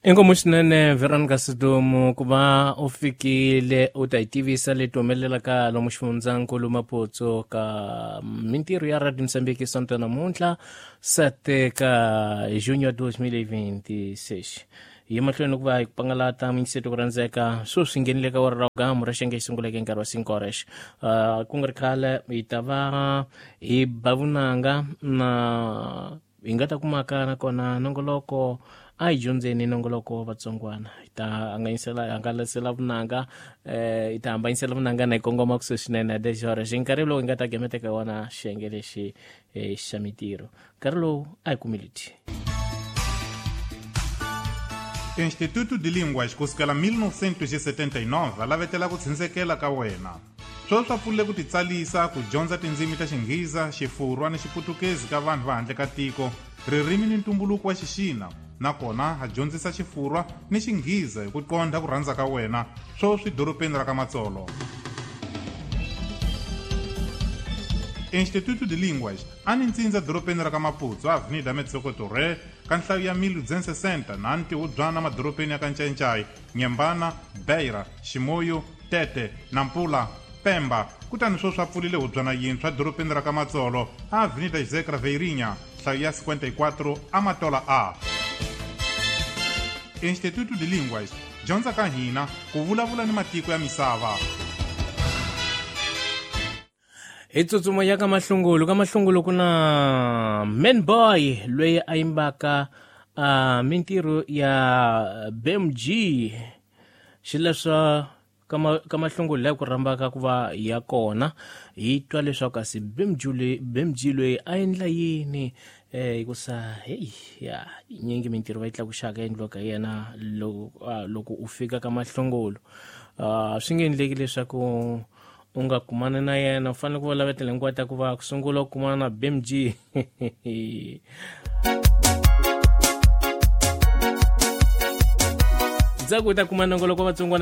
Inkomu swinene Veronica Sidumo ku va u fikile u ta hi tivisa leti humelelaka lomu xifundzankulu Maputo ka mintirho ya Radio Mozambique sonto namuntlha 7 ka junho 2026. Hi mahlweni ku va hi pangalata minyiseto ku rhandzeka sweswi nghenile ka wara ra gamu ra xenge xi sunguleke nkarhi wa 5 horas. Ku nga ri khale hi ta va hi ba vunanga na hi nga ta kumaka nakona nongoloko a hi dyondzeni nongoloko vatsongwana hi ta hanganyisela hangalasela vunanga hi ta hambanyisela vunanga na hi kongoma kusuhi swinene 10 horas hi nkarhi lowu hi nga ta gemeteka wona xiyenge lexi xa mintirho nkarhi lowu a hi kumi leti. Instituto de Línguas kusukela 1979 a lavetela ku tshindzekela ka wena. Sweswi a pfulile ku titsalisa ku dyondza tindzimi ta Xinghiza, Xifurwa ni Xiputukezi ka vanhu va handle ka tiko, ririmi ni ntumbuluko wa Xixina, nakona a dyondzisa Xifurwa ni Xinghiza hi ku qondha ku rhandza ka wena, sweswi dorobeni ra ka Matsolo. Instituto de Línguas a ni ntsindza dorobeni ra ka Maputo, Avenida Metsoco Torre, ka nhlayo ya 1260 na ntihubyana madorobeni ya ka Ncayincai, Nyembana, Beira, Chimoio, Tete, Nampula, Pemba, kutani sweswi a pfulile hubyana yintshwa dorobeni ra ka Matsolo, Avenida José Craveirinha, nhlayo ya 54, Amatola A. Instituto de Línguas, dyondza ka hina ku vulavula ni matiko ya misava. Hi tsutsuma ya ka Mahlungulu, ka Mahlungulu ku na Man Boy loyi a yimbaka mintirho ya BMG xileswo ka ka Mahlungulu laha ku rhambaka ku va ya kona hi twa leswaku kasi BMG loyi BMG loyi a endla yini hikusa heyi ya nyingi mintirho va yi tlakuxaka endliwaka hi yena loko loko u fika ka Mahlungulu swi nge endleki leswaku u nga kumana na yena u fanele ku va lavetela hinkwato ta ku va ku sungula u kumana na BMG. Ndzhaku u ta kuma nongoloko vatsongwana.